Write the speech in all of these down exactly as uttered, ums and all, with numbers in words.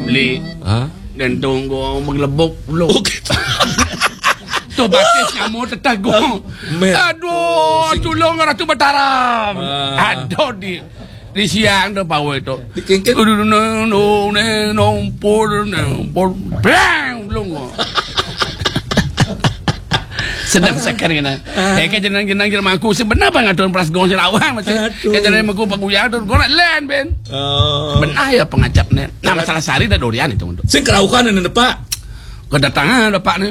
Beli. Ha? Gantung gua menggelebok dulu. Okey. Tu batis kamu tetagong. Aduh, tulung Ratu Mataram. Ah. Aduh, di di siang tu pawai tu. Dikengkeng. Aduh, neng neng neng pur neng pur. Blang, belum. Sedang sakar kena. Eh, ke jenang-jenang jermaku sebenar bang atur peras gong serawang masih. Aduh. Ke jenang maku paguyang tu gong nak len ben. Oh. Benar ya pengacap ni. Nah, masalah sari dah durian itu untuk. Sing kerauhan ni depak. Kedatangan bapak ni.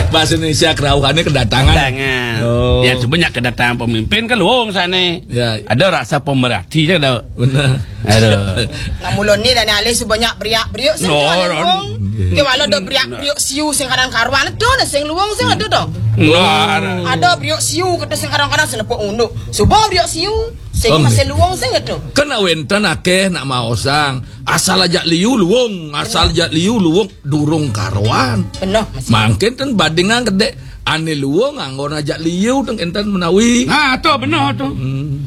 Bahasa Indonesia kerauhannya kedatangan. Kedatangan. Oh. Ya, sebanyak kedatangan pemimpin ke luung sana. Ya. Ada rasa pemerhati je ada. Benar. Aduh. Nak mula ni dah ni alih sebanyak beriak-beriak sing no, luung. Dia walau ada beriak-beriak siu sing kadang karuan tu dah sing luung sing ada tu. No, ada. Ada beriak siu kata sing kadang-kadang selepuk unduk. Suba beriak siu sing masih luung sing ada. Kan nak wenten akeh nak maosang. Asal ajak liu luung, asal ajak liu luung durung karuan. Penuh masih. Mangkin ten bandingan kedek ane luung anggon ajak liu teng enten menawi. Ha tu benar tu. Hmm.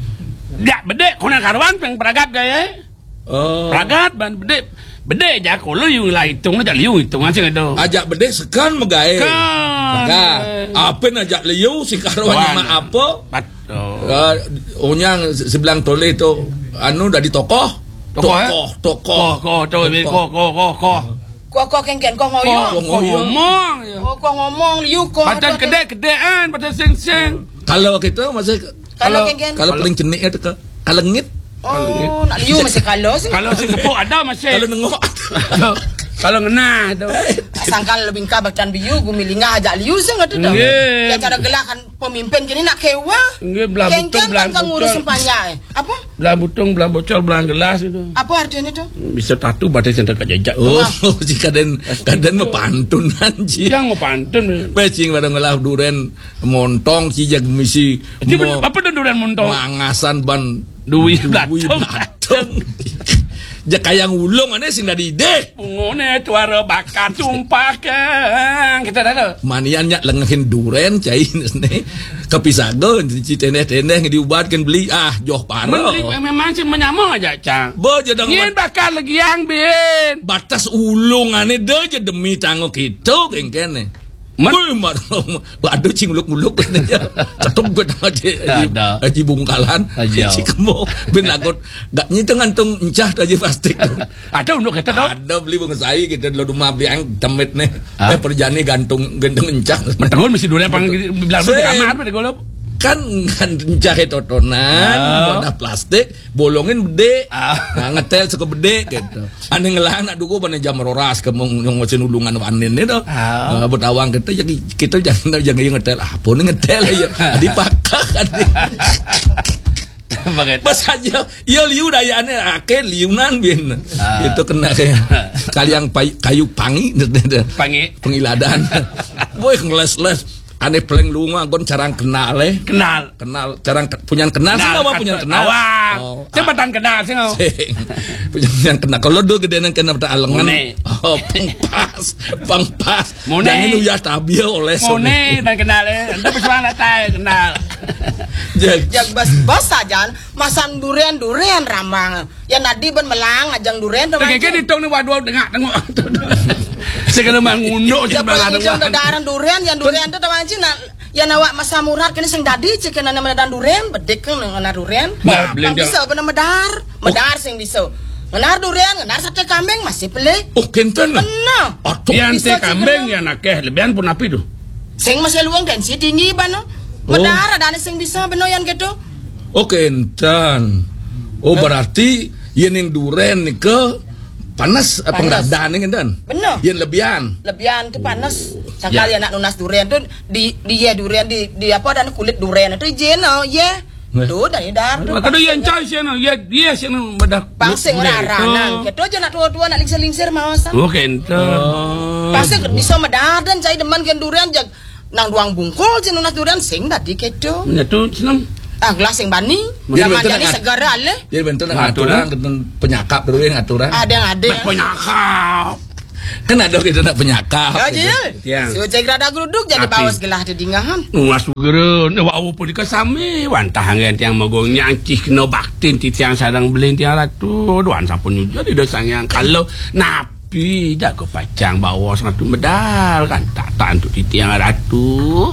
Jak bedek kuna karuan peng peragat gaya. Oh. Peragat ban bedek. Bedek jak kolo yu lah hitung ajak liu hitung aja tu. Ajak bedek sekan megai. Kan. Maka apa ajak liu si karuan mak apa? Pat- Oh. Uh, onyang se- sebelang toleh tu anu dari tokoh. Tokoh, eh? Tokoh, tokoh. Koh, koh, tu, koh, koh, koh, koh. Koh, koh, kengken, koh ngoyong. Koh ngoyong. Ngomong ya. Oh, koh ngomong, liu koh. Patut kedek-kedekan, patut seng-seng. Kalau kita masih kalau kalau kengken kalau paling cenik ya teka kalengit. Oh, nak liu masih kalau sih. Kalau sing kepuk ada masih. Kalau nengok. Kalau ngenah tu. Sangkal lebih engkah bacaan biu gumi lingah ajak liu sing tu tu. Nggih. Ya cara gelah kan pemimpin kini nak kewa. Nggih, belah butung, belah bocor. Kengken kan ngurus sempanya. Apa? Belah butung, belah bocor, belah gelas itu. Apa artinya tu? Bisa tatu batas yang dekat jejak. Oh, si kaden kaden mau pantun anji. Yang mau pantun. Pecing pada ngelah duren montong si jag misi. Itu mau apa tu duren montong? Mangasan ban duit duit belatung. Belatung. Jak kayang ulung ane sing dari deh. Pungone tuara bakar tumpah kang. Kita dah tu. Manian nyak lengehin duren cai ne. Kapisaga ci teneh-teneh diubatkan beli ah joh paro. Beli memang sih menyama aja cang. Bo jedang. Yen bakar lagi yang bin. Batas ulung ane de je demi tanggo kita kengkene. Wih, mar- aduh cing muluk-muluk. Cetuk gue tengah je. Haji, ada. Haji Bungkalan. Haji Cikemo. Bin lagut. Gak nyi tu ngantung encah tu aja plastik tu. Ada unduk kita tu. Ada beli bunga sai kita dulu rumah beli ang temit nih. Eh perjani gantung gantung encah. Menterun mesti dulu apa bilang di kamar pada golop. Kan kan encah itu totonan, wadah plastik, bolongin bedek. Nah, ngetel suka bedek gitu. Ane ngelah nak duku pada jam roras ke mung nyong mesin ulungan wanin ni tu. Ah. Uh, betawang kita jadi kita jangan jangan yang ngetel. Apa ni ngetel ya? Dipakak kan. Pas aja, ya liu daya ane ake liunan bin. Ah. Itu kena kayak kali yang pay- kayu pangi. Pangi. Pengiladan. Boy ngeles-les. Ane paling lunga kon carang kenal eh. Kenal. Kenal, jarang ke- punya kenal sih apa punya kenal? Awak. Oh, jembatan kenal sih. Sing. Punya yang kenal. Kalau dulu gede nang kena pada alengan. Mone. Oh, pengpas, pengpas. Mone. Jangan uyah tabiah oleh mone dan kenal eh. Entah pesuang datai kenal. Jadi. Yang bas-bas saja masang durian-durian ramang. Ya nadi ben melang ajang durian tu. Keke ditung ni waduh dengak tengok. Segala mangunduk je belah dengak. Durian yang durian tu teman cina. Yan awak masa murad kini sing dadi cik kena nama dan durian bedik kan ngena durian. Nah, kan bisa benar medar, medar sing bisa. Ngenar durian, ngenar sate kambing masih pelik. Oh kenten. Benar. Aduh. Yan sate kambing yan akeh lebihan pun api tu. Sing masih luang tensi tinggi bano. Medar ada sing bisa benar yan gitu. Oh kenten. Oh berarti yan yang durian ni ke panas, panas. Pengradan ni kenten. Benar. Yan lebihan. Lebihan tu panas. Sangkal ya nak nunas durian tu di di ye durian di di apa dan kulit durian tu je no ye. Tu dari dar tu. Kada ye encai seno ye ye seno madah. Pasing rara nang keto je nak tua-tua nak lingsir-lingsir mawasan. Oh kento. Pasing bisa medar dan cai deman gen durian jag nang duang bungkul je nunas durian sing tadi keto. Nya tu senang. Ah gelas sing bani. Zaman jadi segera le. Jadi bentuk nak aturan, aturan penyakap dulu ya aturan. Ada yang ada. Penyakap. Kan ada kita nak penyakap. Ya, Jil. Tiang. Si Ucai gerada geruduk jadi Tapi- baus gelah di dingahan. Mas Guru, ne wau pun dika sami wantah anggen tiang magung nyangcih kena baktin titiang sareng belin tiang ratu. Duan sampun nyujur di dosa yang kalau napi jago pacang bawa satu medal kan tak tak untuk titiang ratu.